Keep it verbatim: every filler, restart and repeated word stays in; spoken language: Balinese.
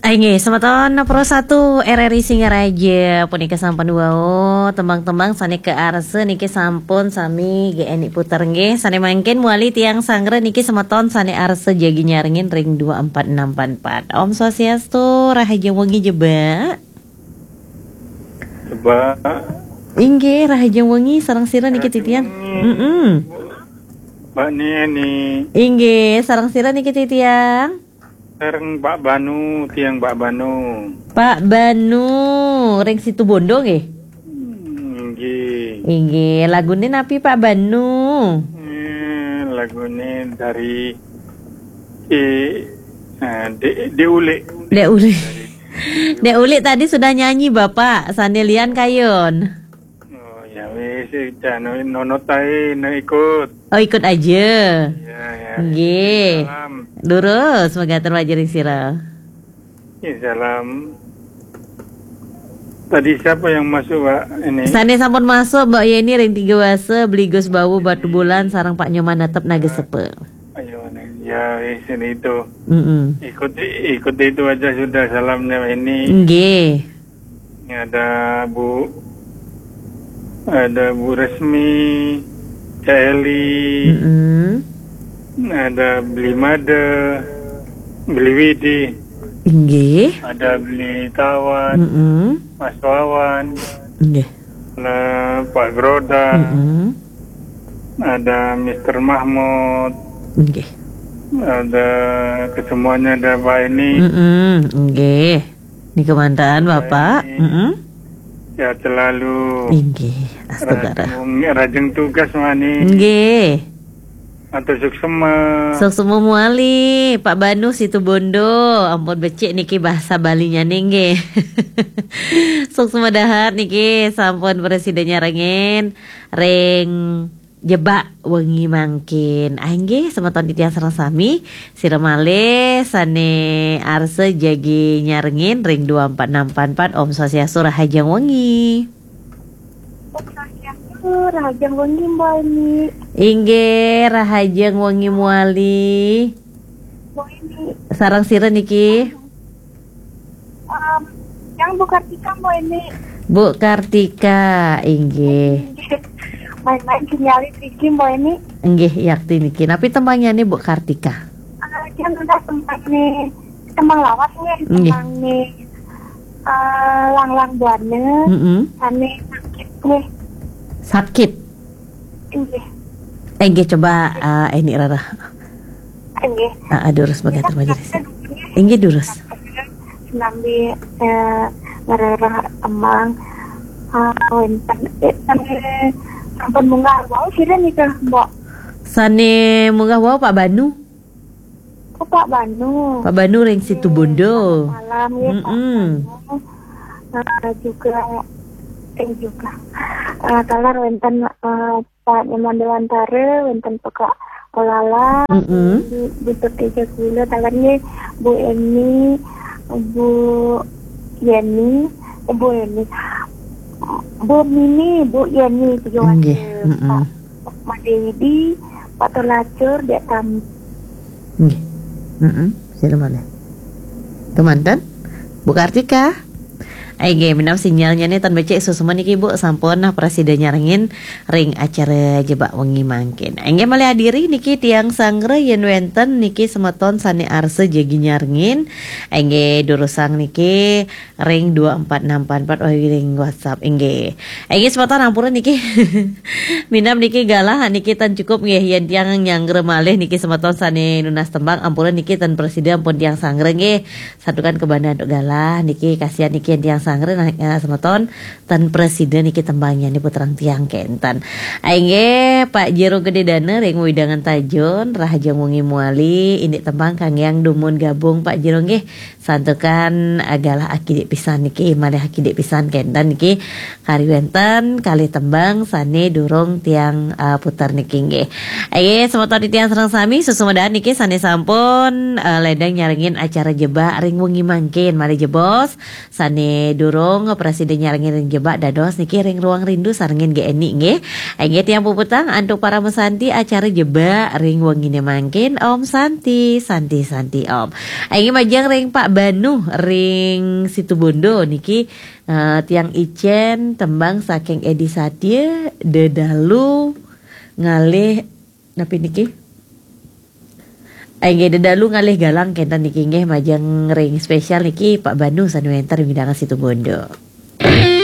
Inggih, semeton Pro satu R R I Singaraja, punika sampun wau tembang-tembang sane kaarsa niki sampun sami G N I puter nggih. Sane mangkin mawali tiang sanggra niki semeton sane arsa jagi nyarengin ring dua empat enam empat empat. Om Swastiastu, rahajeng wengi Jebak. Jebak. Inggih, rahajeng wengi sareng sira niki titiang. Rahajeng wengi. Mm-mm. Mbak Neni. Inggih, sareng sira niki titiang. Sareng Pak Banu, tiang Pak Banu. Pak Banu, ring Situbondo nggih? Hmm, nggih. Inggih, lagune napi Pak Banu? Eh, lagune dari, eh, eh, Dek, Dek Ulik. Dek Ulik. Dek Ulik tadi sudah nyanyi, Bapak. Sane lian kayun. Oh, ya wis, jan nonot ae, nek ikut. Oh, ikut aja. Ya, ya. Nggih. Salam. Durus, megaten wajaring sira. Ya, salam. Tadi siapa yang masuk, Pak? Ini. Sane sampun masuk, Mbak Yeni ring Tiga Wasa, Beli Gus Bawu, Batu Bulan, sareng Pak Nyoman Netep Nagesepe. Ayo, ya, wis, ini itu. Mm-mm. Ikuti, ikuti itu aja sudah salamnya ini. Nggih. Ini ada Bu, ada Bu Resmi, Cak Eli, Mm-mm. Ada Beli Made, Beli Widi, Inggih. Ada Beli Tawan, Mm-mm. Mas Wawan, Inggih. Ada Pak Groda, Mm-mm. Ada Mister Mahmud, Inggih. Ada kesemuanya, ada Pak ini. Mm-mm, inggih. Nika mantan, Bapak. Baik. Mm-mm. Sehat selalu. Inggih, astu. Rajeng, rajeng tugas, Mani. Inggih. Atur suksema. Suksema muali, Pak Banu Situbondo. Ampun becik niki bahasa Balinya nggih. Suksema dahat niki sampun prasida nyarengin ring Jebak wengi mangkin. Ah, inggih, semeton titiang sareng sami, sira malih sane arsa jagi nyarengin ring dua empat enam empat empat. Om Swastiastu, rahajeng wengi. Om Swastiastu, rahajeng wengi, Mbok Eni. Inggih, rahajeng wengi muali. Mbok Eni. Sareng sira niki? Em, yang Bu Kartika, Mbok Eni. Bu Kartika, inggih. Main-main sinyale niki, Mbok Eni. Inggih, yakti niki. Napi tembangnyané, Bu Kartika? Eh, dia minta tembang nih, tembang lawas nih, Nggih. Tembang nih. Eh, Langlang Buana, Mm-mm. Sane sakit nih. Sakit? Inggih. Inggih, coba, eh, ini Rara. Inggih. Ah, ah, durus mangkin, terima kasih. Inggih, durus. Sinambi, eh, ngrereh tembang, eh, wénten, eh, sampun munggah wau sira nika, Mbok? Sané munggah wau Pak Banu. Oh, Pak Banu. Pak Banu ring Situbondo. Salam, ya, Pak Mm-mm. Banu. Eh, juga, eh, juga. Eh, taler wénten, eh, Pak Nyoman Dewantara, wénten Pekak Olala, Mm-mm. Bu Teja Gula, taler nggih, Bu Eni, Bu Yeni, eh, Bu Eni, Bu Mini, Bu Yeni, tiga Nggih, warga. Mm-mm. Pak Made Widi, Pak Tolacur, Dek Tam. Nggih. Mm-mm. Sira malih. Kemanten? Bu Kartika? Inggih, minab sinyalnya nih tan becik suksma niki, Bu, sampun nah prasida nyarengin ring acara Jebak Wengi mangkin. Inggih, malih adiri niki tiang sanggra yén wénten niki semeton sané arsa jagi nyarengin. Inggih, durusang niki ring dua empat enam empat empat, oh, ring WhatsApp, inggih. Inggih, semeton ampura niki. Minab niki galah niki tan cukup nggih yén tiang nyanggra malih niki semeton sané nunas tembang ampura niki tan prasida ampun tiang sanggra nggih. Santukan kabanda antuk galah niki kasihan niki yén tiang sanggra nah, eh, semeton tan prasida niki tembangnya niki puterang tiang kénten. Inggih, Pak Jero Gedé Dana ring wewidangan Tajun, rahajeng wengi muali, indik tembang kanggéang dumun gabung Pak Jero nggih. Santukan, eh, galah akidik pisan niki, malih akidik pisan kénten niki kari wénten kalih tembang sané durung tiang, eh, puter niki nggih. Inggih, semeton titiang sareng sami, suksma dahat niki sané sampun, eh, ledang nyarengin acara Jebak ring wengi mangkin. Malih jebos sané Durung prasida nyarengin ring jebak dados niki ring Ruang Rindu sarengin G N I nggih. Inggih tiang puputang antuk para mesanti acara jebak ring wengine mangkin. Om Santi, Santi, Santi Om. Inggih majeng ring Pak Banu ring Situbondo niki, eh, tiang icen tembang saking Edi Satya, Dedalu ngalih napi niki? Inggih, Dedalu ngalih galang kenten niki nggih majeng ring spesial niki Pak Banu sane wenten ring Widangan Situbondo.